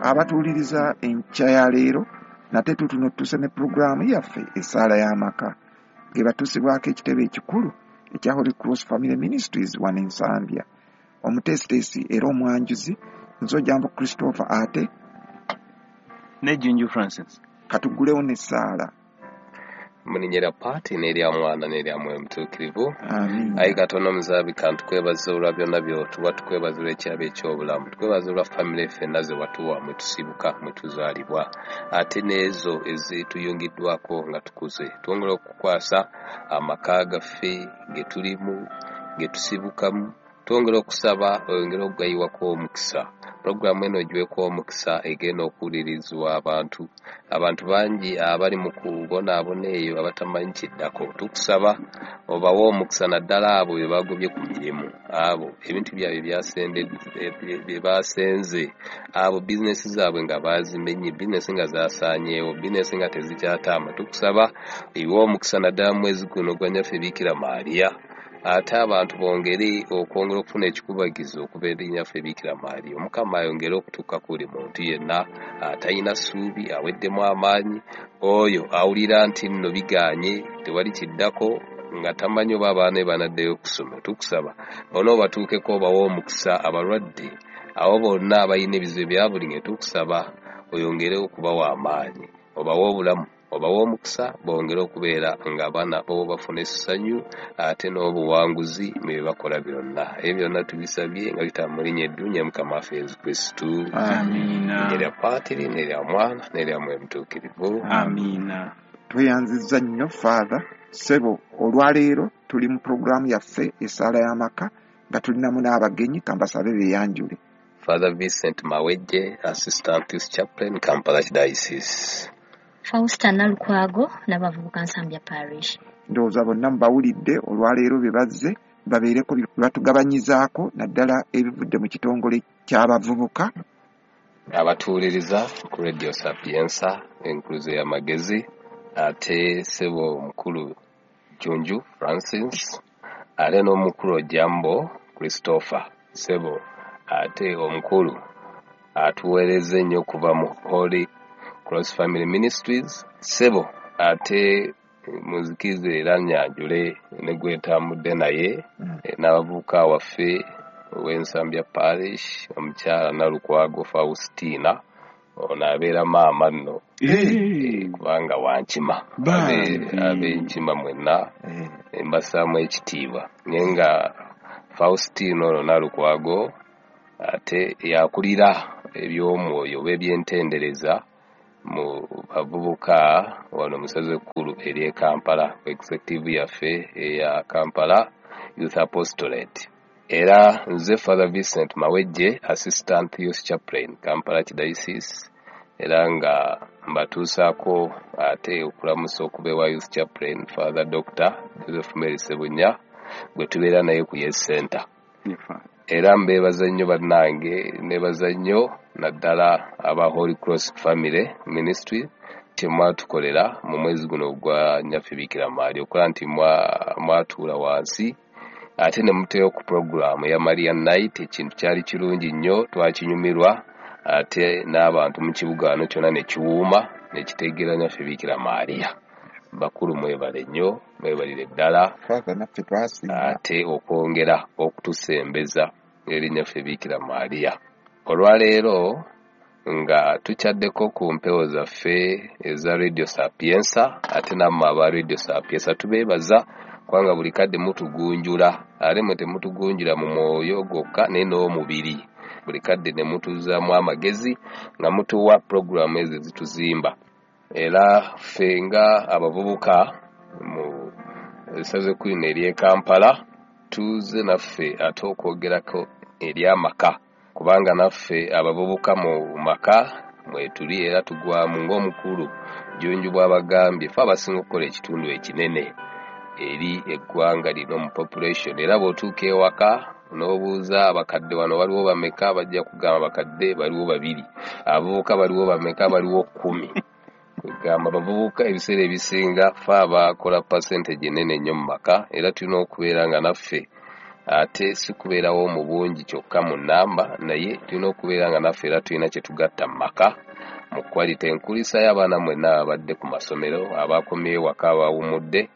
Abatuwuliriza enkya ya leero, nate tutuno tutuse ne pulogulaamu yaffe Essaala y'Amaka, ng'ebatuusibwako ekitebe ekikulu ekya Holy Cross Family Ministries wano e Nsambya. Omuteesiteesi era omwanjuzi nze Ojambo Christopher ate ne Junju Francis. Katuggulewo n'essaala. Mu linnya lya Paati n'erya Mwana n'erya Mwoyo Mutuukirivu. Amiina. Ayi Katonda omuzaabi, kantukwebaza olwa byonna by'otuwa, tukwebaza olw'ekirabo eky'obulamu, tukwebaza olwa famire ffenna ze watuwa mwe tusibuka, mwe tuzaalibwa, ate n'ezo ezituyungiddwako nga tukuze. Twongera okukwasa amaka gaffe ge tulimu, ge tusibukamu, twongera okusaba oyongere okugayiwako omukisa. Pulogulaamu eno ogiweeko omukisa, egenda okuwulirizibwa abantu. Abantu bangi abali mu kubonaabona eyo abatamanyi kiddako. Tukusaba obawe omukisa, naddala abo be bagobye ku mirimu, abo ebintu byabwe bye basenze, abo bizinesi zaabwe nga baazimenye, bizinesi nga zaasaanyeewo, bizinesi nga tezikyatamba. Tukusaba oyiwe omukisa naddala mu mwezi guno ogwa Nnyaffe Biikira Maria, ate abantu bongere okwongera okufuna ekikubagizo okuva eri Nnyaffe Biikira Maria. Omukama ayongere okutuuka ku buli muntu yenna atalina ssuubi, aweddemu amaanyi, oyo awulira nti nno bigaanye, tewali kiddako, nga tamanyi oba abaana be banaddeyo okusoma. Tukusaba bonna obatuukeko, obawe omukisa, abalwadde, abo bonna abalina ebizibu ebya buli ngeri, tukusaba oyongere okubawa amaanyi, obawe obulamu, obawe omukisa, bongere okubeera nga abaana bo bafuna essanyu ate n'obuwanguzi mu bye bakola byonna. Ebyo byonna tubisabye nga biyita mu linnya eddungi Mukama waffe Yesu Kristo. Amiina. Erya Paatiri n'erya Mwana n'erya Mwoyo Mutuukirivu. Amiina. Tweyanzizza nnyo Father. Ssebo, olwaleero tuli mu pulogulaamu yaffe Essaala y'Amaka nga tulinamu n'abagenyi, kambasabe beeyanjule. Father Vincent Mawejje, Assistant Youth Chaplain, Kampala Diocese. Fausta Nalukwago, n'abavubuka Nsambya Parish. Ndowooza bonna mubawulidde olwaleero bye bazze babeereko bye batugabanyizaako, naddala ebivudde mu kitongole ky'abavubuka. Abatuwuliriza ku Radio Sapienza, enkuluze y'amagezi, ate ssebo omukulu Junju Francis, ate n'omukulu Ojambo Christopher, ssebo ate omukulu atuweereza ennyo okuva mu Holy Cross Family Ministries, ssebo ate muzikirize era nnyanjule ne gwe ntambudde naye, n'abavubuka waffe ow'Ensambya Parish, omukyala Nalukwago Faustina, ono abeera maama nno, kubanga wankima. Ab'enkima mwenna mbassaamu ekitiibwa, naye nga Faustina ono Nalukwago ate yakulira eby'omwoyo oba ebyentendereza mu bavubuka wano mu ssaza ekkulu ery'e Kampala, executive yaffe eya Kampala Youth Apostolate. Era nze Father Vincent Mawejje, Assistant Youth Chaplain, Kampala Diocese, era nga mbatuusaako ate okulamusa okuva ewa Youth Chaplain Father Dr. Joseph Mary Ssebunya, gwe tubeera naye ku Yes Center. Era mbeebaza nnyo bannange, neebaza nnyo naddala aba Holy Cross Family Ministry kye mwatukolera mu mwezi guno ogwa Nnyaffe Biikira Maria, okukola nti mwatuula wansi ate ne muteeyo ku pulogulaamu eya Maria Night. Ekintu kyali kirungi nnyo, twakinyumirwa, ate n'abantu mu kibuga wano kyonna ne kiwuuma ne kitegeera Nnyaffe Biikira Maria. Bakulu mwebale nnyo, mwebalire ddala. Father, naffe twasiima. Ate okwongera okutusembeza eri Nnyaffe Biikira Maria. Olwaleero nga tukyaddeko ku mpewo zaffe eza Radio Sapienza, ate nammwe aba Radio Sapienza tubeebaza kubanga buli kadde mutugunjula, ate mwe temutugunjula mu mwoyo gwokka naye n'omubiri. Buli kadde ne mutuzzaamu amagezi nga mutuwa pulogulaamu ezo ezituzimba. Era ffe nga abavubuka mu ssaza ekkulu lino ery'e Kampala tuze naffe ate okwogerako ery'amaka, kubanga naffe abavubuka mu maka mwetuli era tugwamu ng'omukulu Junju bw'abagambye, ffe abasinga okukola ekitundu ekinene eri eggwanga lino mu population. Era bw'otuuka ewaka n'obuuza abakadde wano waliwo bameka, bajja kugamba abakadde baliwo 2, abavubuka baliwo bameka, baliwo 10. Kwegamba abavubuka ebiseera ebisinga ffe abakola percentage ennene ennyo mu maka, era tulina okubeera nga naffe Ate si kubeerawo mu bungi kyokka mu nnamba, naye tulina okubeera nga naffe era tulina kye tugatta mu maka mu quality. Enkulisa y'abaana mwenna ababadde ku masomero, abakomyewo waka, abawummudde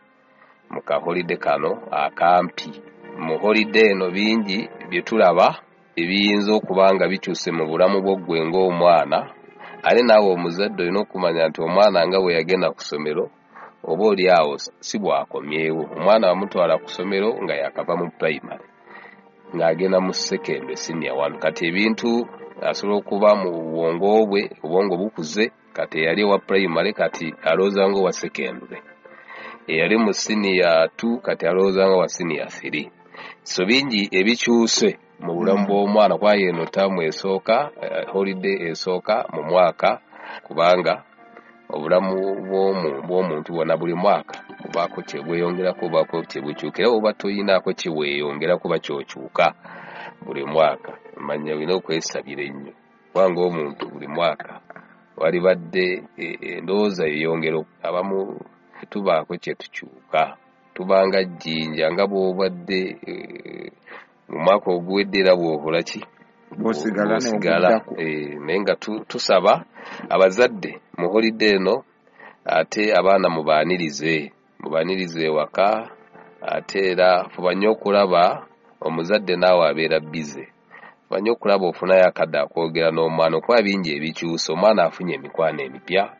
mu ka holiday kano akampi. Mu holiday eno bingi bye tulaba ebiyinza okuba nga bikyuse mu bulamu bwo ggwe ng'omwana. Ate naawe omuzadde olina okumanya nti omwana nga bwe yagenda ku ssomero oba oli awo si bw'akomyewo. Omwana bamutwala ku ssomero nga yakava mu primary ng'agenda mu secondary, senior one. Kati ebintu asobola okuba mu bwongo bwe, obwongo bukuze. Kati eyali owa primary kati alowooza ng'owa secondary, eyali mu senior 2 kati alowooza nga wa senior 3. So bingi ebikyuse mu bulamu bw'omwana, kuba eno taamu esooka, holiday esooka mu mwaka, kubanga obulamu bw'omuntu bwonna buli mwaka bubaako kye bweyongerako, bubaako kye bukyuka. Era oba toyinaako kye weeyongerako oba ky'okyuka buli mwaka, manya olina okwesabira ennyo, kubanga omuntu buli mwaka walibadde endowooza yeyongera. Abamu tubaako kye tukyuka, tubanga jjinja, nga bw'obadde mu mwaka oguwedde era bw'okola ki? Bw'osigala. Bw'osigala. N'oguddako. Naye nga tusaba abazadde mu holiday eno, ate abaana mubaanirize, mubaanirize ewaka. Ate era fuba nnyo okulaba omuzadde naawe abeera busy, fuba nnyo okulaba ofunayo akadde akwogera n'omwana, okuba bingi ebikyusa. Omwana afunye emikwano emipya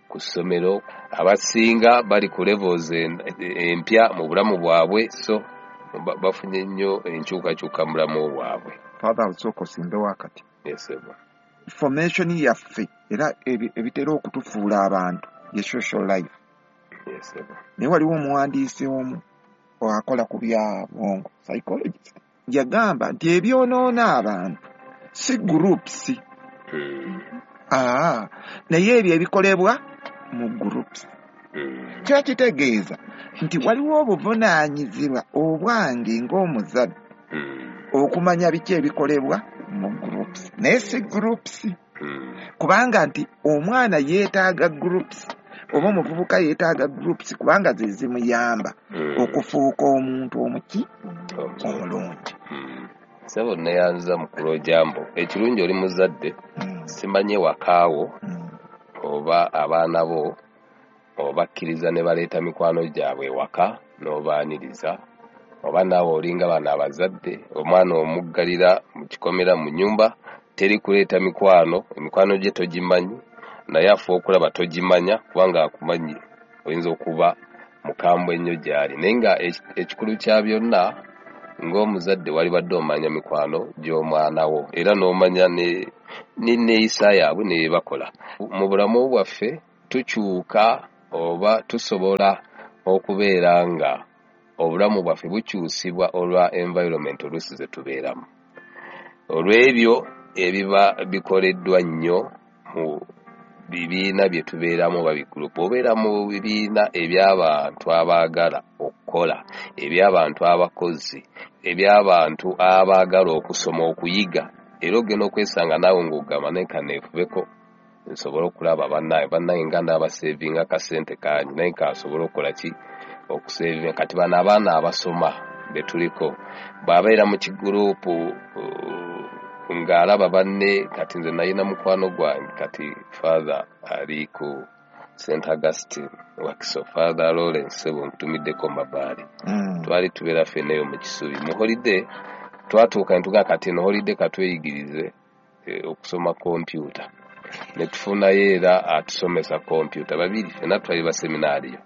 ku ssomero, abasinga bali ku levels empya mu bulamu bwabwe, so bafunye nnyo enkyukakyuka mu bulamu bwabwe. Father, osooka osimbewo akati. Yes, sir. Formation yaffe era ebitera okutufuula abantu ye social life. Yes, sir. Naye waliwo omuwandiisi omu akola ku bya bwongo, psychologist, yagamba nti ebyonoona abantu si groups, naye ebyo ebikolebwa mu groups. Kiba kitegeeza nti waliwo obuvunaanyizibwa obwange ng'omuzadde okumanya biki ebikolebwa mu groups, naye si groups, kubanga nti omwana yeetaaga groups oba omuvubuka yeetaaga groups, kubanga ze zimuyamba okufuuka omuntu omuki omulungi. Ssebo, neyanza mukulu Ojambo. Ekirungi oli muzadde. Simanye wakaawo oba abaana bo obakkiriza ne baleeta mikwano gyabwe ewaka n'obaaniriza, oba naawe olinga bano abazadde, omwana omuggalira mu kikomera mu nnyumba, teri kuleeta mikwano, emikwano gye togimanyi, naye afuba okulaba togimanya, kubanga akumanyi oyinza okuba mukambwe ennyo gy'ali. Naye nga ekikulu kya byonna, ng'omuzadde walibadde omanya mikwano gy'omwana wo, era n'omanya ne neeyisa yaabwe ne bye bakola mu bulamu bwaffe. Tukyuka oba tusobola okubeera nga obulamu bwaffe bukyusibwa olwa environment oluusi ze tubeeramu, olw'ebyo ebiba bikoleddwa nnyo mu bibiina bye tubeeramu oba bigurupu. Obeera mu bibiina eby'abantu abaagala okukola, eby'abantu abakozi, eby'abantu abaagala okusoma, okuyiga, era ogenda okwesanga naawe ng'ogamba, naye kaneefubeko nsobole okulaba bannaye, bannaye nga ndaabasevinga akasente kangi, naye kansobole okukola ki? Okusevinga. Kati bano abaana abasoma be tuliko, bw'abeera mu kigurupu ng'alaba banne. Kati nze nalina mukwano gwange, kati Father ali ku St Augustine Wakiso, Father Lawrence, sebo nkutumiddeko mabaali. Twali tubeera ffenna eyo mu Kisubi. Mu holiday twatuuka ne tugamba, kati eno holiday katweyigirize okusoma kompyuta, ne tufunayo era atusomesa kompyuta babiri, ffenna twali baseminaariyo.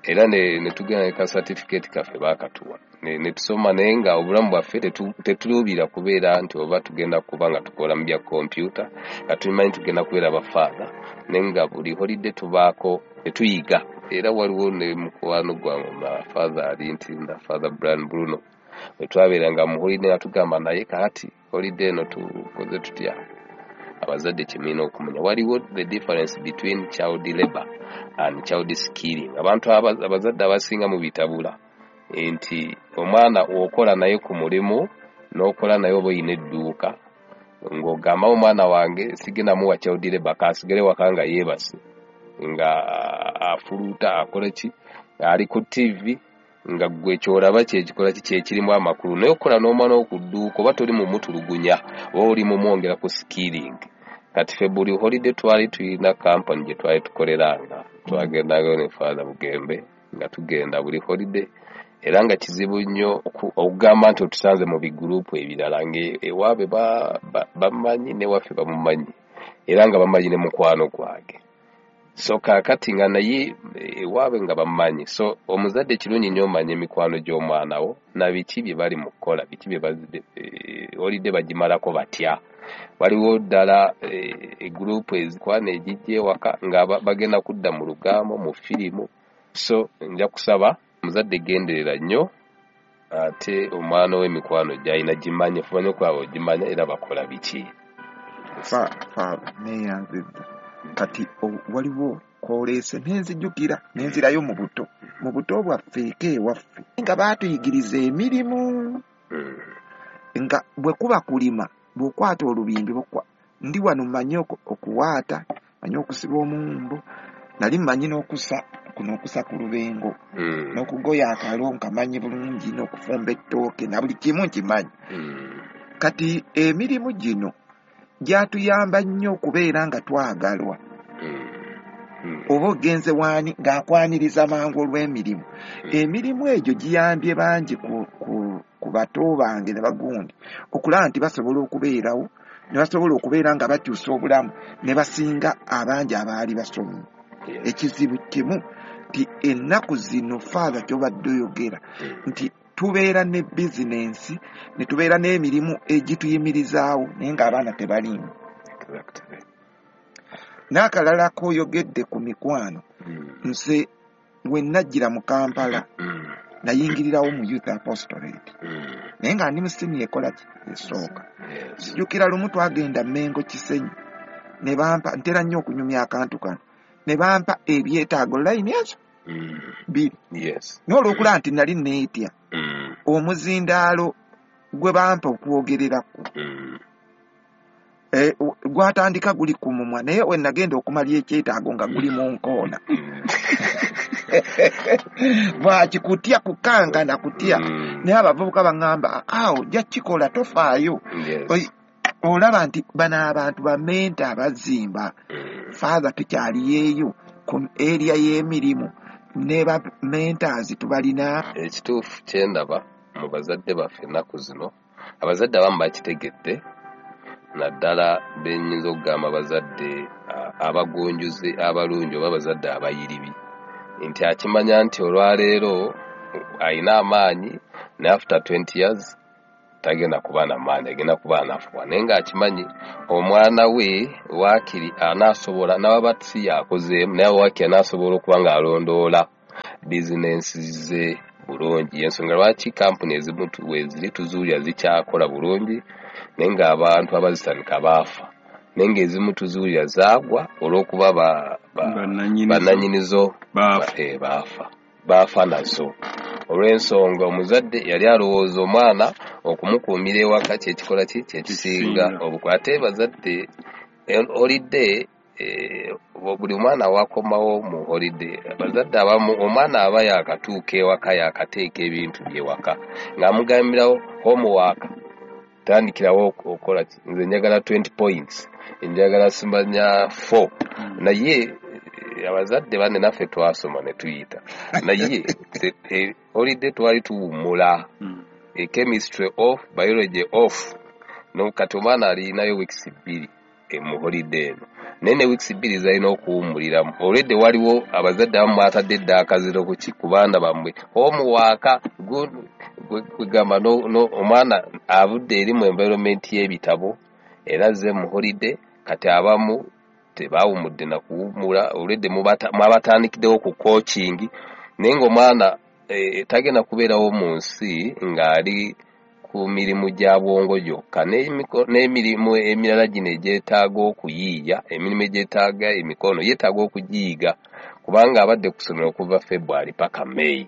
Era ne tugenda ne ka certificate kaffe baakatuwa ne tusoma, naye nga obulamu bwaffe tetuluubira kubeera nti oba tugenda kuba nga tukola mu bya kompyuta, nga tumanyi tugenda kubeera bafaatha, naye nga buli holiday tubaako ne tuyiga. Era waliwo ne mukwano gwange omulala, Father ali Ntinda, Father Brian Bruno, bwe twabeeranga mu holiday nga tugamba, naye kaati holiday eno tukoze tutya? Abazadde kyemulina okumanya, waliwo the difference between child labor and child skilling. Abantu abazadde abasinga mubitabula nti omwana okola naye ku mulimu n'okola naye oba oyina edduuka, ng'ogamba omwana wange sigenda muwa child labor, kasigale waka nga yeebase, nga afuluuta, akole ki, ali ku TV. Nga ggwe ky'olaba kyekikola ki kyekirimu amakulu, naye okukola n'omwana wo ku dduuka oba toli mumutulugunya oba oli mumwongera ku skilling. Kati ffe buli holiday twali tulina kampani gye twali tukoleranga, twagendangayo ne Father Bugembe nga tugenda buli holiday, era nga kizibu nnyo okugamba nti otusanze mu bigurupu ebirala ng'ewaabwe bamanyi newaffe bamumanyi, era nga bamanyi ne mukwano gwange. So kaakati nga naye ewaabwe nga bamumanyi. So omuzadde kirungi nnyo omanye emikwano gy'omwana wo na biki bye bali mu kukola, biki bye holiday bagimalako batya. Waliwo ddala egurupu ezikwana egijja ewaka nga bagenda kudda mu lugambo, mu firimu. So nja kusaba muzadde genderera nnyo, ate omwana w'emikwano gy'alina gimanye, fuba nnyo okulaba ogimanya era bakola biki. Father neeyanzizza. Kati waliwo kwoleese nenzijjukira nenzirayo mu buto, mu buto bwaffe eka ewaffe nga baatuyigiriza emirimu, nga bwe kuba kulima bw'okwata olubimbi, ndi wano mmanyi okuwaata, mmanyi okusiba omuwumbo, nali mmanyi n'okusa kuno okusa ku lubengo, n'okugoya akalo nkamanyi bulungi, n'okufumba ettooke na buli kimu nkimanyi. Kati emirimu gino gyatuyamba nnyo okubeera nga twagalwa. Oba ogenze waani ng'akwaniriza mangu olw'emirimu. Emirimu egyo giyambye bangi ku bato bange ne bagundi okulaba nti basobola okubeerawo, ne basobola okubeera nga bakyusa obulamu ne basinga abangi abaali basomye. Ekizibu kimu nti ennaku zino Father ky'obadde oyogera nti tubeera ne bizinensi ne tubeera n'emirimu egituyimirizaawo naye ng'abaana tebaliimu. N'akalala k'oyogedde ku mikwano, nze we najjira mu Kampala nayingirirawo mu Youth Apostolate, naye nga ndi mu siniya ekola ki esooka. Nzijukira lumu twagenda Mengo Kisenyi ne bampa, ntera nnyo okunyumya akantu kano, ne bampa ebyetaago layini ezo bbiri. Naye olw'okulaba nti nali neetya omuzindaalo gwe bampa okwogererako gwatandika guli ku mumwa, naye we nagenda okumala ekyetaago nga guli mu nkoona. Bwaki kutya, kukankana kutya. Naye abavubuka baŋŋamba awo ojja kukikola tofaayo. Olaba nti bano abantu bamenta abazimba. Father tukyaliyeeyo ku area y'emirimu ne ba mentors tubalina. Ekituufu kye ndaba mu bazadde baffe ennaku zino, abazadde abamu bakitegedde, naddala bennyinza okugamba abazadde abagunjuzi abalungi oba abazadde abayiribi, nti akimanya nti olwaleero alina amaanyi naye after 20 years tagenda kuba na maanyi, agenda kuba anafuwa, naye ng'akimanyi omwana we waakiri anaasobola n'aba si yakozeemu, naye waakiri anaasobola okuba ng'alondoola bizinensi ze bulungi. Ensonga lwaki kampuni ezimu weziri tuzuulira zikyakola bulungi, naye ng'abantu abazitandika baafa, naye ng'ezimu tuzuulira zaagwa olw'okuba bannannyinizo baafa nazo. Olw'ensonga omuzadde yali alowooza omwana okumukuumira ewaka kyekikola ki kyekisinga obukulu. Ate bazadde holiday, buli mwana wakomawo mu holiday, abazadde abamu omwana aba yakatuuka ewaka yakateeka ebintu byewaka ng'amugambirawo homework, tandikirawo okukola ki, nze njagala 20 points, njagala simanya 4. Naye abazadde banne naffe twasoma ne tuyita, naye holiday twali tuwummula, chemistry off, biology off. No kati omwana alinayo weeks 2 mu holiday eno, naye ne weeks 2 zalina okuwummuliramu. Already waliwo abazadde abamu batadde dda akaziro ku ki ku baana bammwe, homework kwegamba omwana avudde eri mu environment y'ebitabo era azze mu holiday. Kati abamu tebawummudde na kuwummula, already mwabatandikiddewo ku coaching, naye ng'omwana tagenda kubeerawo mu nsi ng'ali ku mirimu gya bwongo gyokka, n'emirimu emirala gino egyetaaga okuyiiya, emirimu egyetaaga emikono yeetaaga okugiyiga, kubanga abadde ku ssomero okuva February paka May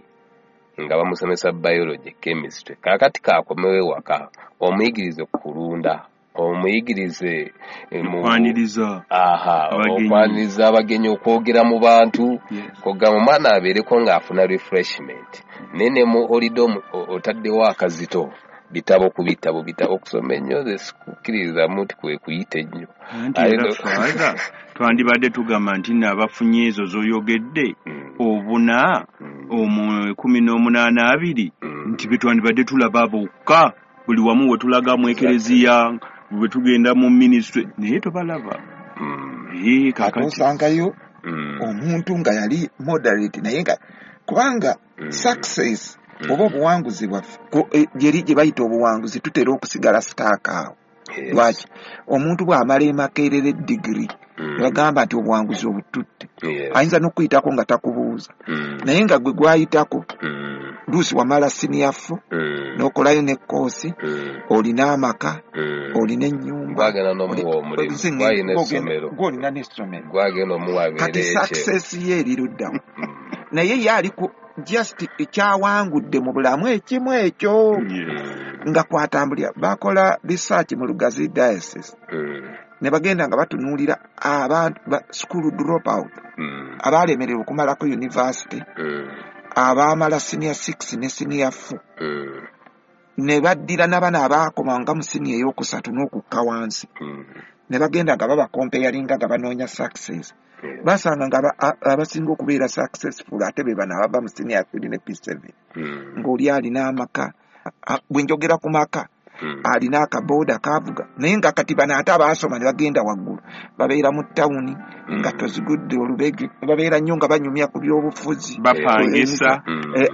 nga bamusomesa biology, chemistry. Kaakati kaakomewo ewaka omuyigirize kulunda, omuyigirize okwaniriza abagenyi, okwogera mu bantu, kugamba omwana abeereko ng'afuna refreshment. Naye ne mu holiday otaddewo akazito, bitabo ku bitabo, bitabo okusoma ennyo, nze sikukkiririzamu nti kwe kuyita ennyo. Anti era Father, twandibadde tugamba nti nno abafunye ezo z'oyogedde obuna omu 18 20 nti be twandibadde tulaba bokka buli wamu we tulaga mu ekereziya, bwe tugenda mu ministry, naye tobalaba. Ate osangayo omuntu nga yali moderate, naye nga kubanga success oba obuwanguzi bwaffe gyeri gye bayita obuwanguzi, tutera okusigala sitaaka awo. Lwaki? Omuntu bw'amala e Makerere degree, ne bagamba nti obuwanguzi obututte, ayinza n'okuyitako nga takubuuza, naye nga gwe gwayitako luusi wamala senior 4, n'okolayo ne koosi, olina amaka, olina ennyumba, Gwagenda n'omuwa omulimu, gwalina essomero. Gw'olina n'essomero. Gwagenda omuwa abeere Kati ekye. success ye eri luddawa? Naye ye ali ku just ekyawangudde mu bulamu ekimu ekyo nga kwatambulira. Bakola research mu Lugazi Diocese, ne bagenda nga batunuulira abantu ba school drop out, abaalemererwa okumalako university, abaamala senior 6 ne senior 4, ne baddira n'abana abaakomanga mu senior ey'okusatu n'okukka wansi, ne bagenda nga babakompeyaringa nga banoonya success. Basanga nga abasinga okubeera successful ate be bano abava mu senior 3 ne P7, ng'oli alina amaka. Bwe njogera ku maka, alina akabooda kavuga, naye nga kati bano ate abaasoma ne bagenda waggulu babeera mu tawuni nga tozigudde olubege, babeera nnyo nga banyumya ku byobufuzi, bapangisa.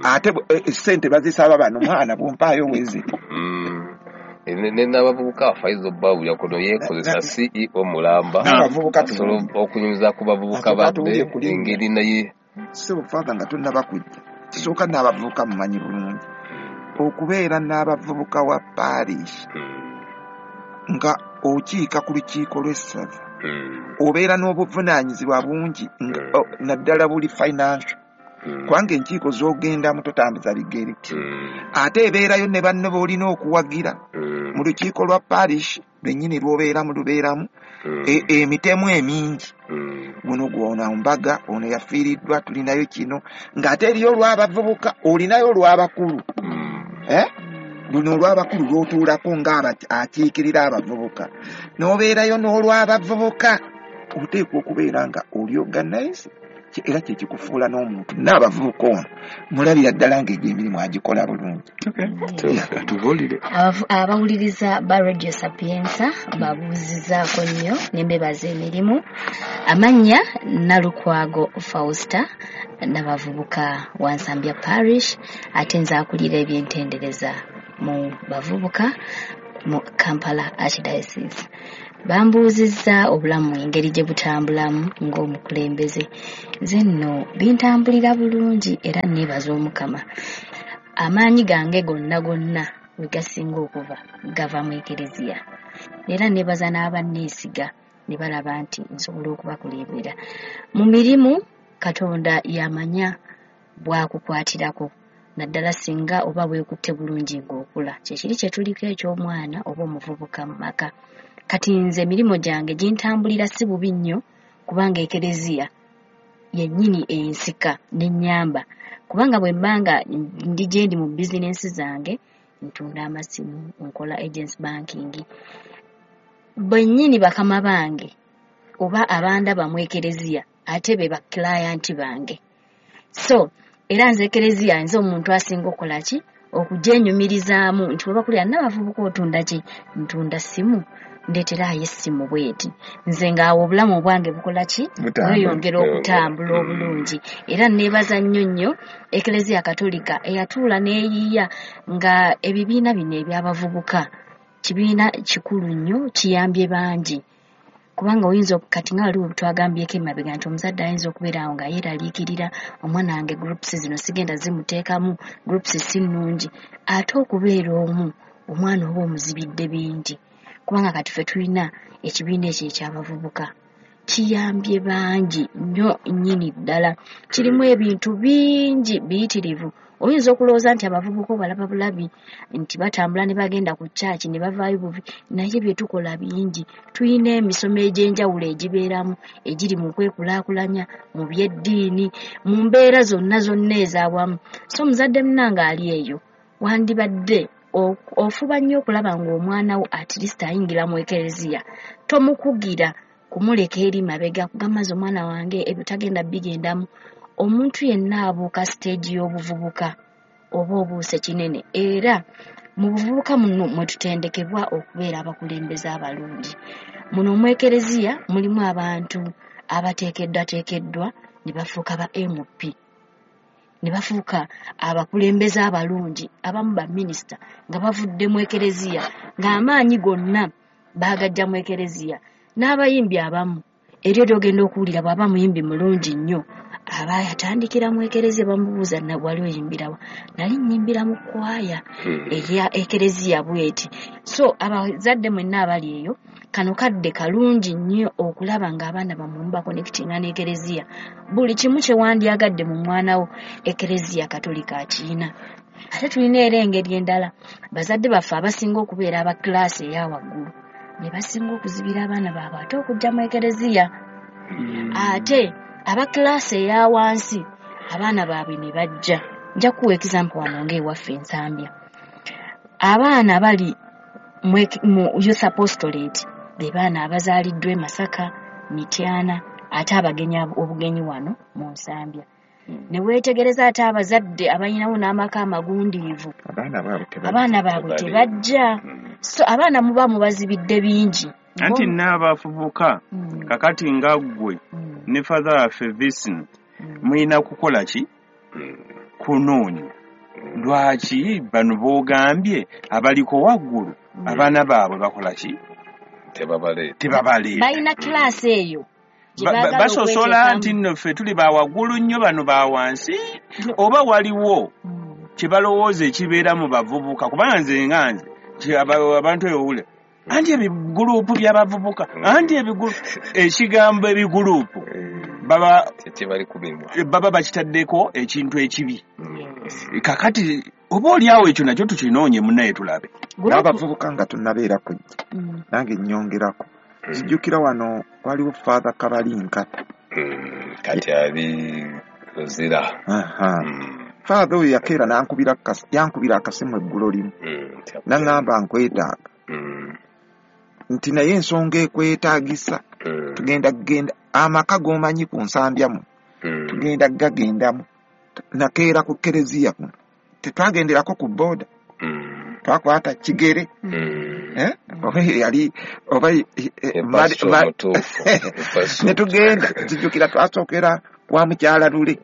Ate ssente bazisaba bano, mwana bwompaayo wezi. Ne n'abavubuka Faizo Bawulya kuno yeekozesa CEO mulamba, N'abavubuka asobola tuwulire. okunyumiza ku bavubuka Ate banne tuwulire kulinnya. engeri naye. Ssebo Father, nga tonnaba kujja, kisooka n'abavubuka mumanyi bulungi okubeera n'abavubuka wa parish nga okiika ku lukiiko lw'essaza, obeera n'obuvunaanyizibwa bungi naddala buli financial, kubanga enkiiko z'ogendamu totambuza bigere, ate ebeerayo ne banno b'olina okuwagira mu lukiiko lwa parish lwennyini lw'obeeramu, lubeeramu emitemu emingi, guno gwona mbaga, ono yafiiriddwa, tulinayo kino, ng'ate eriyo olw'abavubuka, olinayo olw'abakulu. Luno olw'abakulu lw'otuulako nga akiikirira abavubuka, n'obeerayo n'olw'abavubuka, oteekwa okubeera nga oli organize, era kye kikufuula n'omuntu. N'abavubuka ono mulabira ddala ng'egyo emirimu agikola bulungi. Tubuulire. Abawuliriza ba Radio Sapienza babuuzizaako nnyo ne mbebaza emirimu. Amannya Nalukwago Fausta, n'abavubuka wa Nsambya Parish, ate nze akulira ebyentendereza mu bavubuka mu Kampala Archdiocese. Bambuuzizza obulamu engeri gye butambulamu ng'omukulembeze. Nze nno bintambulira bulungi era neebaza Omukama. Amaanyi gange gonna gonna we gasinga okuva gava mu Ekereziya. Era neebaza n'abanneesiga ne balaba nti nsobola okubakulembera. Mu mirimu Katonda yamanya bw'akukwatirako, naddala singa oba weekutte bulungi ng'okula. Kye kiri kye tuliko eky'omwana oba omuvubuka mu maka. Kati nze emirimu gyange gintambulira si bubi nnyo, kubanga Ekereziya yennyini ensika n'ennyamba. Kubanga bwe mba nga ndi gye ndi mu bizinensi zange, ntunda amasimu, nkola agency banking, bennyini bakama bange oba abandaba mu Ekereziya ate be ba client bange. So era nze Ekereziya nze omuntu asinga okukola ki? Okugyenyumirizaamu nti bwe bakulira n'abavubuka otunda ki? Ntunda simu, ndeeteraayo essimu bw'eti. Nze ng'awo obulamu obwange bukola ki? Bweyongera okutambula obulungi. Era neebaza nnyo nnyo Ekereziya Katolika eyatuula n'eyiiya nga ebibiina bino eby'abavubuka kibiina kikulu nnyo, kiyambye bangi. Kubanga oyinza kati nga waliwo twagambyeko emabega nti omuzadde ayinza okubeera awo nga yeeraliikirira omwana wange groups zino sigenda zimuteekamu, groups si nnungi. Ate okubeera omu omwana oba omuzibidde bingi. Kubanga kati ffe tulina ekibiina ekyo eky'abavubuka kiyambye bangi nnyo nnyini ddala. Kirimu ebintu bingi biyitirivu Oyinza okulowooza nti abavubuka obalaba bulabi nti batambula ne bagenda ku kyaki ne bavaayo buvi, naye bye tukola bingi. Tulina emisomo egy'enjawulo egibeeramu egiri mu kwekulaakulanya, mu by'eddiini, mu mbeera zonna zonna ez'awamu. So omuzadde munnange ali eyo, wandibadde ofuba nnyo okulaba ng'omwana wo at least ayingira mu ekereziya. Tomukugira kumuleka eri mabega kugamba nze omwana wange ebyo tagenda bigendamu. Omuntu yenna abuuka siteegi y'obuvubuka oba obuuse kinene, era mu buvubuka muno mwe tutendekebwa okubeera abakulembeze abalungi. Muno mu ekereziya mulimu abantu abateekeddwateekeddwa ne bafuuka ba MP, ne bafuuka abakulembeze abalungi, abamu ba minisita nga bavudde mu ekereziya, ng'amaanyi gonna baagajja mu ekereziya. N'abayimbi abamu eryo ly'ogenda okuwulira bw'aba muyimbi mulungi nnyo, aba yatandikira mu ekereziya, bamubuuza wali oyimbirawa, nali nnyimbira mu kwaya eya ekereziya bweti. So abazadde mwenna abali eyo, kano kadde kalungi nnyo okulaba ng'abaana bammwe mubakonekitinga n'ekereziya. Buli kimu kye wandyagadde mu mwana wo, ekereziya Katolika akiyina. Ate tulina era engeri endala, bazadde baffe abasinga okubeera aba kilaasi eya waggulu be basinga okuzibira abaana baabwe ate okujja mu ekereziya. Ate aba kilaasi eya wansi abaana baabwe ne bajja. Nja kuwa example wano ng'ewaffe Nsambya. Abaana bali mu Youth Apostolate be baana abazaaliddwa e Masaka, Mityana, ate abagenyi obugenyi wano mu Nsambya. Ne weetegereza ate abazadde abalinawo n'amaka amagundiivu, abaana baabwe tebajja. So abaana muba mubazibidde bingi. Anti n'abavubuka kakati nga ggwe ne father waffe Vincent mulina kukola ki? Kunoonya. Lwaki bano boogambye abaliko waggulu abaana baabwe bakola ki? Tebabaleeta. Balina kilaasi eyo. Basosola nti nno ffe tuli ba waggulu nnyo, bano ba wansi, oba waliwo kye balowooza ekibeera mu bavubuka. Kubanga nze nga nze abantu ewule anti ebigulupu by'abavubuka, anti ekigambo ebigulupu baba bakitaddeko ekintu ekibi. Kakati oba oliawo ekyo nakyo tukinoonye munnaye tulabe. N'abavubuka nga tunnabeera kujja nange nnyongerako. Nzijjukira wano waliwo Father Kabalinkata. Kati ali Luzira. Father oyo yakeera yankubira akasimu eggulo limu. N'aŋŋamba nkwetaaga. Nti naye ensonga ekwetaagisa. Tugenda kugenda amaka g'omanyi ku Nsambya muno. Tugenda gagendamu. Nakeera ku kereziya kuno. Tetwagenderako ku booda. Twakwata kigere. Oba yali oba ne tugenda. Nzijjukira twasookera wa mukyala Lule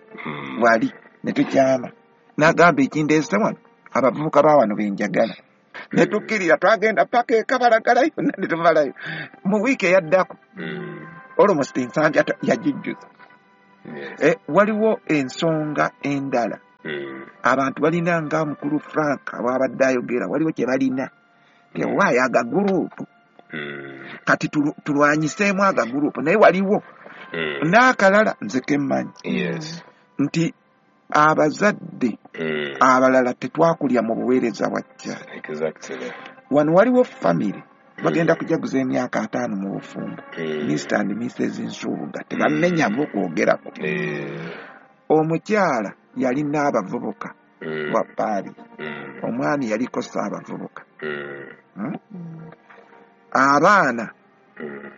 wali ne tukyama. N'agamba ekindeese wano abavubuka ba wano be njagala. Ne tukkirira twagenda paka e Kabalagala yonna ne tumalayo. Mu wiiki eyaddako almost Nsambya yagijjuza. Waliwo ensonga endala. Abantu balina nga mukulu Frank bw'abadde ayogera, waliwo kye balina tewaayo agaguruupu. Kati tulwanyiseemu agaguruupu, naye waliwo n'akalala nze ke mmanyi nti abazadde abalala tetwakulya mu buweereza bwa kyalo. Wano waliwo famire bagenda kujaguza emyaka 50 mu bufumbo, Mr and Mrs Nsubuga tebamenya bo kwogerako. Omukyala yalina abavubuka wa paali, omwami yaliko ssaabavubuka. Abaana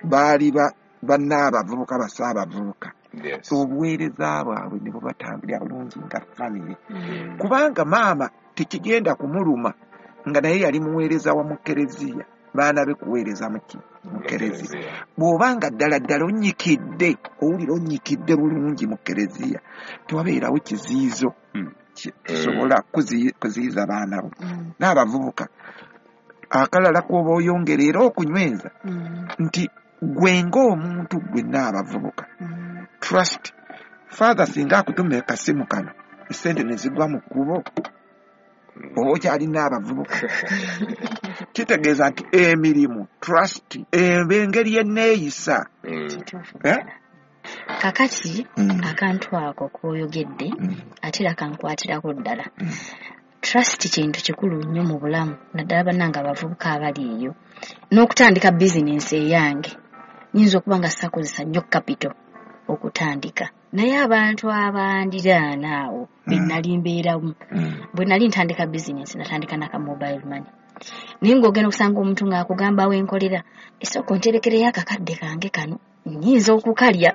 baali bannaabavubuka bassaabavubuka. Obuweereza bwabwe ne bubatambulira bulungi nga famire. Kubanga maama tekigenda kumuluma nga naye yali muweereza wa mu kereziya, baana be kuweereza mu kereziya. Bw'oba nga ddala ddala onnyikidde, owulira onnyikidde bulungi mu kereziya, tewabeerawo kiziyizo kisobola kuziyiza baana bo. N'abavubuka akalala k'oba oyongera era okunyweza nti gwe ng'omuntu gwe n'abavubuka. Trust. Father singa akutuma akasimu kano, essente ne zigwa mu kkubo, oba okyalina abavubuka. Kitegeeza nti emirimu, trust, engeri enneeyisa. Kakati akantu ako k'oyogedde ate era kankwatirako ddala. Trust kintu kikulu nnyo mu bulamu, naddala bannange abavubuka abali eyo. N'okutandika bizinensi eyange nyinza okuba nga sakozesa nnyo capital okutandika, naye abantu abandiraana awo be nali mbeeramu, bwe nali ntandika bizinensi natandika naka mobile money, naye ng'ogenda okusanga omuntu ng'akugamba wenkolera, esooka onterekereyo akakadde kange kano nnyinza okukalya,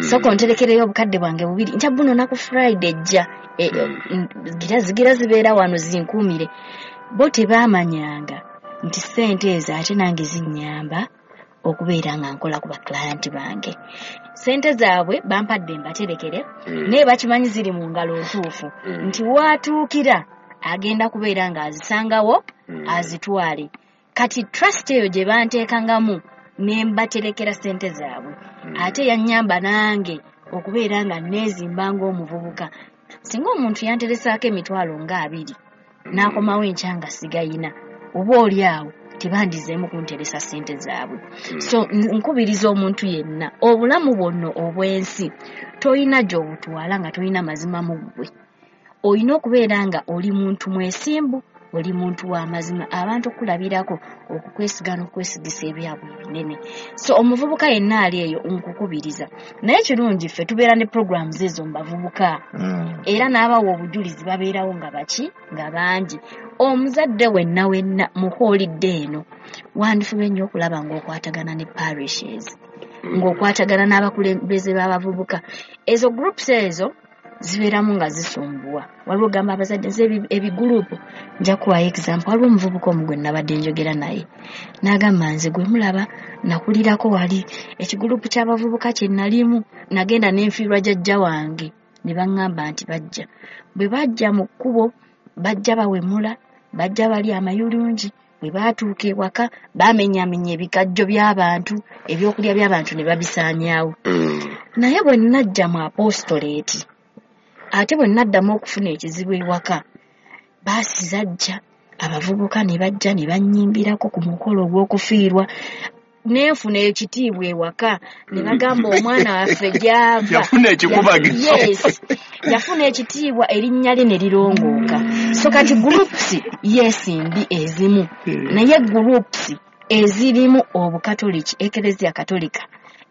sooka onterekereyo obukadde bwange bubiri nja bunona ku Friday ejja, gira zibeera wano zinkuumire. Bo tebaamanyanga nti ssente ezo ate nange zinnyamba okubeera nga nkola ku baklayenti bange. Ssente zaabwe bampadde mbaterekere, naye bakimanyi ziri mu ngalo ntuufu nti waatuukira agenda kubeera ng'azisangawo azitwale. Kati trust eyo gye banteekangamu ne mbaterekera ssente zaabwe, ate yannyamba nange okubeera nga neezimba ng'omuvubuka. Singa omuntu yanteresaako emitwalo nga 20 n'akomawo enkya nga sigayina, oba oli awo tebandizeemu kunteresa ssente zaabwe. So nkubiriza omuntu yenna, obulamu bwonno obw'ensi toyina gy'obutwala nga toyina mazima mu ggwe. Olina okubeera nga oli muntu mwesimbu, oli muntu w'amazima, abantu okulabirako okukwesiga n'okwesigisa ebyabwe ebinene. So omuvubuka yenna ali eyo nkukubiriza. Naye kirungi ffe tubeera ne programs ezo mu bavubuka, era n'abawa obujulizi babeerawo nga baki nga bangi. Omuzadde wenna wenna mu holiday eno wandifube nnyo okulaba ng'okwatagana ne parishes, ng'okwatagana n'abakulembeze b'abavubuka. Ezo groups ezo zibeeramu nga zisumbuwa. Waliwo gamba abazadde nze ebigurupu nja kuwayo example. Waliwo omuvubuka omu gwe nabadde njogera naye n'agamba nze gwe mulaba nakulirako wali ekigurupu ky'abavubuka kye nalimu, nagenda n'enfiirwa jjajja wange ne baŋŋamba nti bajja. Bwe bajja mu kkubo bajja bawemula, bajja bali amayulungi, bwe baatuuka ewaka baamenyaamenya ebikajjo by'abantu, ebyokulya by'abantu ne babisaanyaawo. Naye bwe najja mu apostolate, ate bwe naddamu okufuna ekizibu ewaka, baasi zajja, abavubuka ne bajja ne bannyimbirako ku mukolo ogw'okufiirwa, nenfuna ekitiibwa ewaka ne bagamba omwana waffe gy'ava. Yafuna ekikubagizo. Yes, yafuna ekitiibwa, erinnya lye ne lirongooka. So kati groups yes mbi ezimu, naye groups ezirimu obukatoliki, Eklezia Katolika,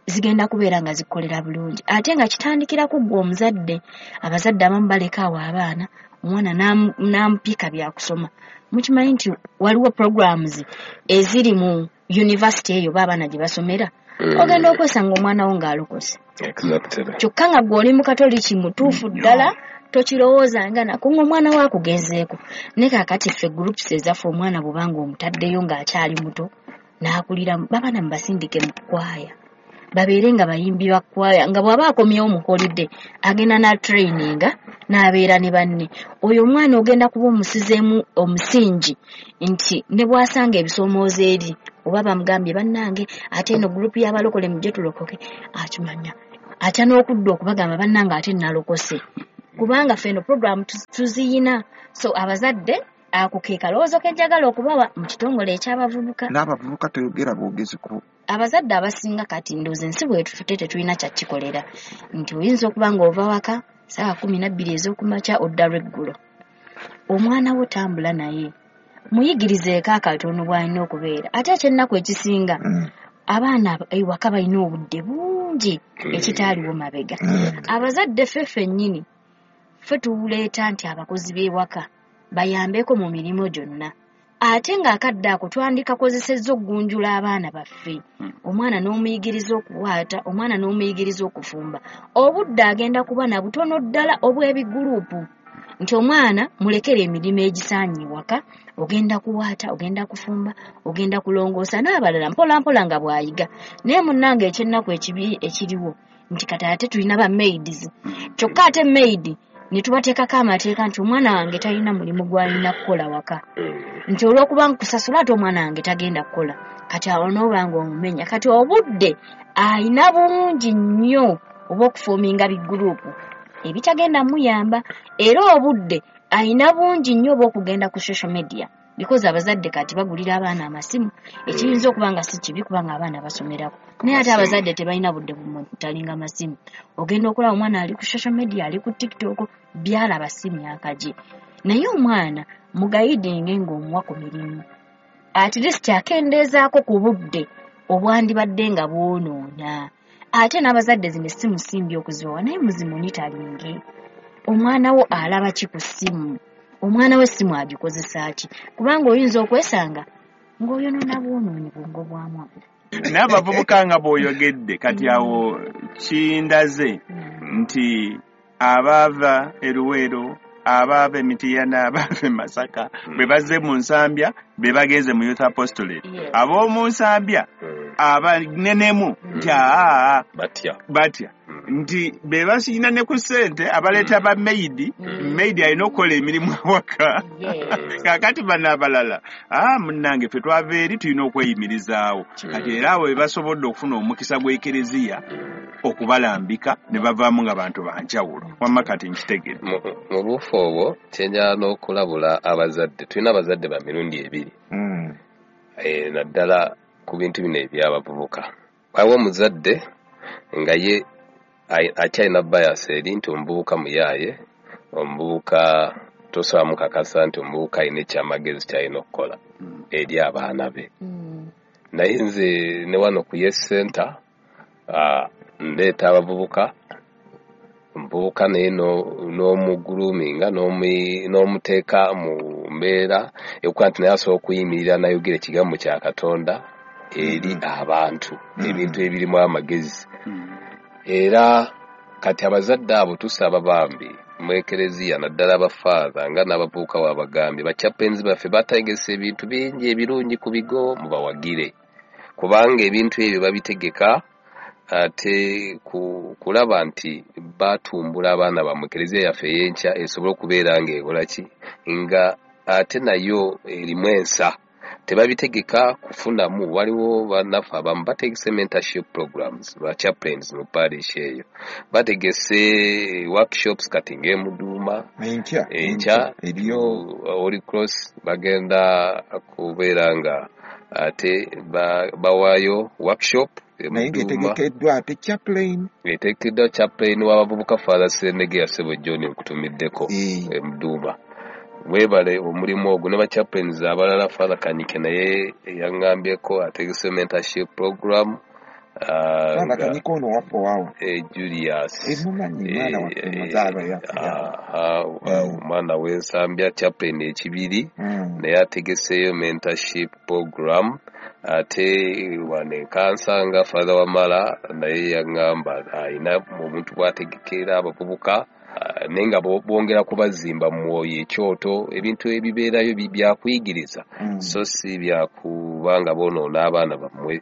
zigenda kubeera nga zikolera bulungi. Ate nga kitandikira ku ggwe omuzadde. Abazadde abamu baleka awo abaana, omwana n'amupika byakusoma. Mukimanyi nti waliwo programs eziri mu university eyo b'abaana gye basomera, ogenda okwesanga omwana wo ng'alokose. Kyokka nga ggwe oli mukatoliki mutuufu ddala, tokirowoozanga nako ng'omwana wo akugenzeeko. Naye kaakati ffe groups ezaffe omwana bw'obanga omutaddeyo ng'akyali muto n'akulira, babaana mubasindike mu kkwaya, babeere nga bayimbi ba kkwaya, nga bw'aba akomyewo mu holiday agenda na traininga n'abeera ne banne. Oyo omwana ogenda kuba omusizeemu omusingi nti ne bw'asanga ebisoomoozo eri, oba bamugambye bannange ate eno gurupu y'abalokole mujje tulokoke, akimanya atya n'okudda okubagamba bannange ate nalokose, kubanga ffe eno program tuziyina. So abazadde ako ke kalowoozo ke njagala okubawa mu kitongole eky'abavubuka. N'abavubuka toyogera bwogezi ku abazadde abasinga kati ndowooza ensi bwetufute tetulina kyakikolera, nti oyinza okuba ng'ova waka ssaawa 12 ez'okumakya odda lweggulo. Omwana wo tambula naye, muyigirizeeko akatono bw'alina okubeera. Ate ekyennaku ekisinga, abaana ewaka balina obudde bungi ekitaaliwo mabega. Abazadde ffe ffennyini ffe tuleeta nti abakozi b'ewaka bayambeko mu mirimu gyonna, ate ng'akadde ako twandikakozesezza okugunjula abaana baffe. Omwana n'omuyigiriza okuwaata, omwana n'omuyigiriza okufumba. Obudde agenda kuba na butono ddala obw'ebigurupu, nti omwana mulekere emirimu egisaanye ewaka, ogenda kuwaata, ogenda kufumba, ogenda kulongoosa n'abalala mpola mpola nga bw'ayiga. Naye munnange ekyennaku ekibi ekiriwo nti kati ate tulina ba maids, kyokka ate maid ne tubateekako amateeka nti omwana wange talina mulimu gw'alina kukola waka, nti olw'okuba nkusasula ate omwana wange tagenda kukola. Kati awo n'oba ng'omumenya. Kati obudde alina bungi nnyo obw'okufoominga bigurupu ebitagenda muyamba, era obudde alina bungi nnyo obw'okugenda ku social media. Because abazadde kati bagulira abaana amasimu, ekiyinza okuba nga si kibi kubanga abaana basomerako, naye ate abazadde tebalina budde bumutalinga masimu. Ogenda okulaba omwana ali ku social media, ali ku TikTok, byalaba si myaka gye. Naye omwana mugayidinge ng'omuwa ku mirimu, at least akendeezaako ku budde obwandibadde nga bwonoona. Ate n'abazadde zino essimu si mbi okuzibawa, naye muzimonitalinge. Omwana wo alaba ki ku ssimu? Omwana we essimu agikozesa ki? Kubanga oyinza okwesanga ng'oyonoona bwonoonyi bwongo bwa mwana. N'abavubuka nga bw'oyogedde kati awo kindaze nti abaava e Luweero, abaava e Mityana, abaava e Masaka bwe bazze mu Nsambya be bagenze mu Youth Apostolate. Ab'omu Nsambya abanenemu nti aa batya nti be basiyina ne ku ssente abaleeta ba maid. Maid alina okukola emirimu awaka. Kaakati bano abalala, munnange ffe twava eri tulina okweyimirizaawo. Kati era abo be basobodde okufuna omukisa gw'Ekereziya okubalambika ne bavaamu nga bantu banjawulo. Wamma kati nkitegedde. Mu buufu obwo kyenjala n'okulabula abazadde, tulina abazadde ba mirundi ebiri, naddala ku bintu bino eby'abavubuka. Waliwo omuzadde nga ye akyalina bias eri nti omuvubuka muyaaye, omuvubuka tosobola mukakasa nti omuvubuka alina ekyamagezi ky'alina okukola eri abaana be. Naye nze ne wano ku Yes Center ndeeta abavubuka, omuvubuka naye n'omugroominga n'omuteeka mu mbeera ekuba nti naye asobola okuyimirira n'ayogera ekigambo kya Katonda eri abantu, ebintu ebirimu amagezi. Era kati abazadde abo tusaba bambi mu Ekereziya, naddala abafaatha nga n'abavubuka wabagambye, bachaplains baffe bategese ebintu bingi ebirungi ku bigo, mubawagire, kubanga ebintu ebyo babitegeka ate kulaba nti batumbula abaana bammwe. Ekereziya yaffe ey'enkya esobole okubeera ng'ekola ki, nga ate nayo erimu ensa. Tebabitegeka kufunamu. Waliwo bannaffe abamu bategese mentorship programs, ba chaplains mu parish eyo bategese workshops kati ng'emuduuma enkya eriyo Holy Cross bagenda kubeera nga ate bawaayo workshop naye ng'etegekeddwa ate chaplain, etegekeddwa chaplain w'abavubuka Father Sendege Sebo John nkutumiddeko emuduuma. Weebale omulimu ogwo ne ba chaplains abalala. Father Kanyike naye yaŋŋambyeko ategese mentorship program. Father Kanyike ono waffe waawo? Julius. Mumanyi, mwana waffe, muzaala yaffe. Omwana w'Ensambya, chaplain ekibiri, naye ategeseeyo mentorship program. Ate wano enkansanga Father Wamala naye yaŋŋamba alina omuntu bw'ategekera abavubuka, naye nga bongera kubazimba mu mwoyo, ekyoto, ebintu ebibeerayo byakuyigiriza, so si byakuba nga boonoona abaana bammwe.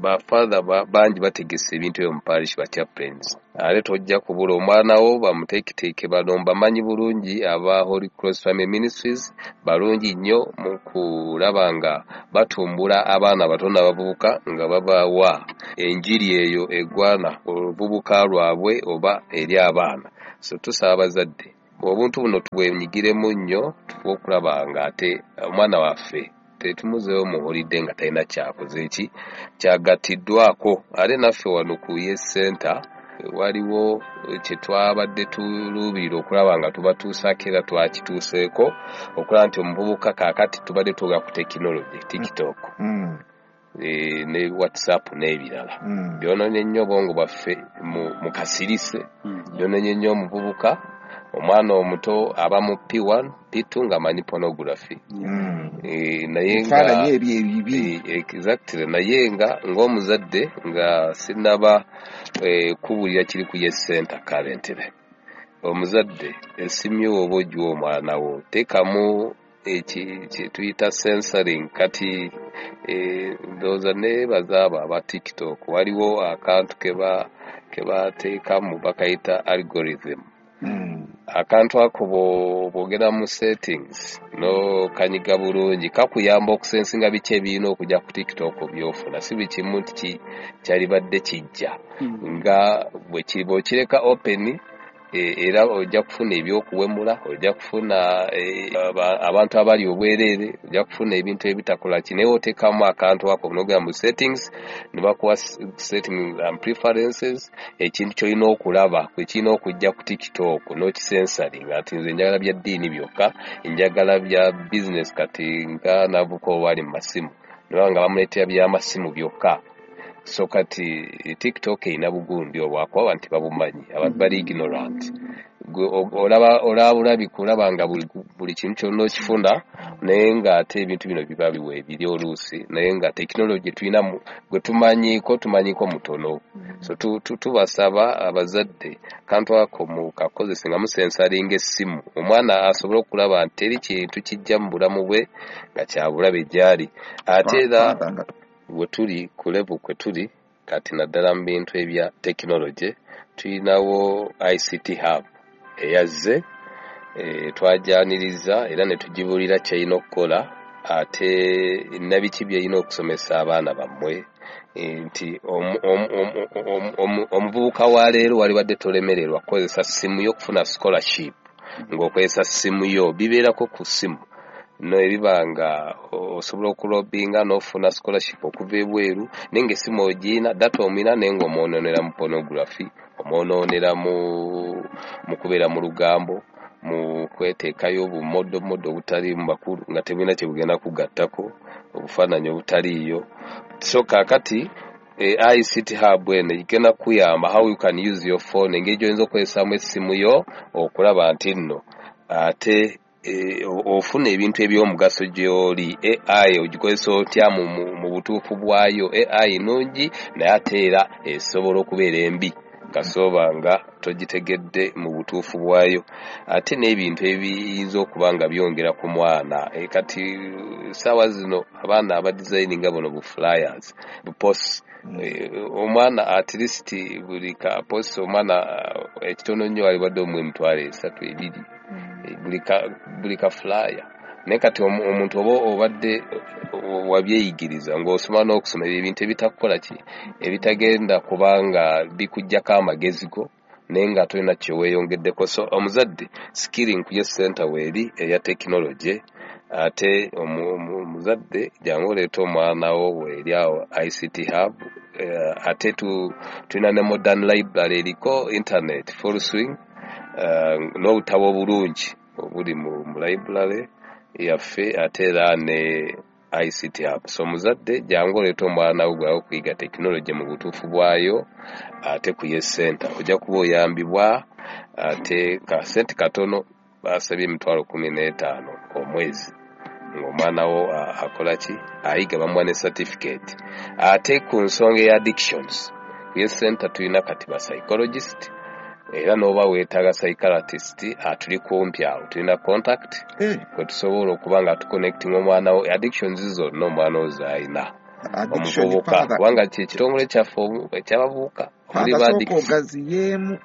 Bafather bangi bategese ebintu ebyo mu parish, ba chaplains. Ate tojja kubula omwana wo bamuteeketeeke. Bano mbamanyi bulungi, aba Holy Cross Family Ministries balungi nnyo mu kulaba nga batumbula abaana bato n'abavubuka, nga babawa enjiri eyo egwana oluvubuka lwabwe oba eri abaana. So tusaba abazadde obuntu buno tubwenyigiremu nnyo, tufe okulaba nga ate omwana waffe tetumuzeewo muwulidde nga talina kyakoze ki kyagattiddwako. Ate naffe wano ku Yes Center waliwo kye twabadde tuluubirira okulaba nga tubatuusaako, era twakituuseeko, okulaba nti omuvubuka kaakati tubadde twogera ku tekinologi, TikTok ne WhatsApp n'ebirala, byonoonye nnyo obwongo bwaffe mu kasirise, byonoonye nnyo omuvubuka. Omwana omuto aba mu P1 P2 ng'amanyi pornography, naye nga ebifaananyi ebyo ebibi. Exactly. Naye nga ng'omuzadde nga sinnaba kubulira kiri ku Yes Center currently, omuzadde essimu yo oba ogiwa omwana wo, teekamu eki tuyita censoring. Kati ndowooza neebaza abo aba TikTok, waliwo akantu kebateekamu bakayita algorithm. Akantu ako bw'ogenda mu settings n'okanyiga bulungi, kakuyamba okusensinga biki ebirina okujja ku TikTok by'ofuna, si buli kimu nti kyalibadde kijja. Nga bw'okireka open, Era ojja kufuna ebyokuwemula, ojja kufuna abantu abali obwereere, ojja kufuna ebintu ebitakola ki, naye oteekamu akantu ako n'ogenda mu settings ne bakuwa settings and preferences, ekintu ky'olina okulaba ekirina okujja ku TikTok n'okisensaringa nti nze njagala bya ddiini byokka, njagala bya business. Kati nga navuka owali mu masimu neba nga bamuleetera byamasimu byokka. So kati TikTok erina bugundi obwakuba nti babumanyi abantu bali ignorant. Olaba bulabi kulaba nga buli kintu kyonna okifuna, naye ng'ate ebintu bino biba biweebiri oluusi, naye nga tekinologi tulina gwe tumanyiiko mutono. So tubasaba abazadde kantu ako mukakozese nga musensaringa essimu, omwana asobole okulaba nti teri kintu kijja mu bulamu bwe nga kyabulabe gy'ali. Ate era we tuli ku level kwe tuli kati naddala mu bintu ebya tekinologi tulinawo ICT hub eyazze, twajjaniriza era ne tugibuulira ky'erina okukola ate nabiki by'erina okusomesa abaana bammwe, nti omuvubuka wa leero walibadde tolemererwa kukozesa ssimu yo okufuna scholarship ng'okozesa ssimu yo, bibeerako ku ssimu nebiba nga osobola okulobinga n'ofuna scholarship okuva ebweru, naye ng'essimu ogiyina, data omuyina, naye ng'omwonoonera mu pornography, omwonoonera mu kubeera mu lugambo, mu kweteekayo obumodomodo obutali mu bakulu nga tebulina kye bugenda kugattako, obufaananyi obutaliiyo. So kaakati ICT hub eno egenda kuyamba how you can use your phone, engeri gy'oyinza okukozesaamu essimu yo okulaba nti nno ate ofuna ebintu eby'omugaso gy'oli. AI ogikozesa otya mu butuufu bwayo? AI nnungi, naye ate era esobola okubeera embi kasooba nga togitegedde mu butuufu bwayo. Ate n'ebintu ebiyinza okuba nga byongera ku mwana, kati ssaawa zino abaana abadizayininga buno bu flyers, bu posts, omwana at least buli ka post omwana ekitono nnyo walibadde omuwa 300,000, 2,000 buli ka flyer. Naye kati omuntu oba obadde wabyeyigiriza ng'osoma n'okusoma ebyo ebintu ebitakukola ki, ebitagenda kubanga bikuggyako amagezi go, naye nga tolina kye weeyongeddeko. So omuzadde skilling ku Yes Center weeri eya tekinologi, ate omuzadde jangu oleete omwana wo weeri awo ICT hub. Ate tulina ne modern library eriko internet full swing, n'obutabo obulungi obuli mu library yaffe, ate era ne ICT hub. So omuzadde jangu oleete omwana wo gwawo okuyiga tekinologi mu butuufu bwayo, ate ku Yes Center ojja kuba oyambibwa. Ate kasente katono, basabye 15,000 omwezi, ng'omwana wo akola ki, ayiga, bamuwa ne certificate. Ate ku nsonga eya addictions, ku Yes Center tulina kati ba psychologist, era n'oba weetaaga psychiatrist atuli kumpi awo, tulina contact kwe tusobola okuba nga tuconnecting omwana wo addictions zonna omwana wo z'alina, omuvubuka, kubanga kye kitongole kyaffe ekyabavubuka omuli ba sooka addicts. Ogaziyeemu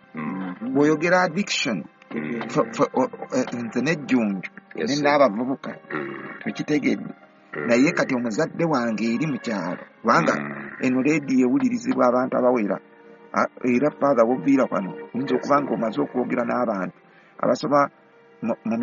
bw'oyogera addiction, nze nejjunju ne n'abavubuka tukitegedde, naye kati omuzadde wange eri mu kyalo, kubanga eno leediyo ewulirizibwa abantu abawera. Era Father, woviira wano oyinza okuba nga omaze okwogera n'abantu abasoma mu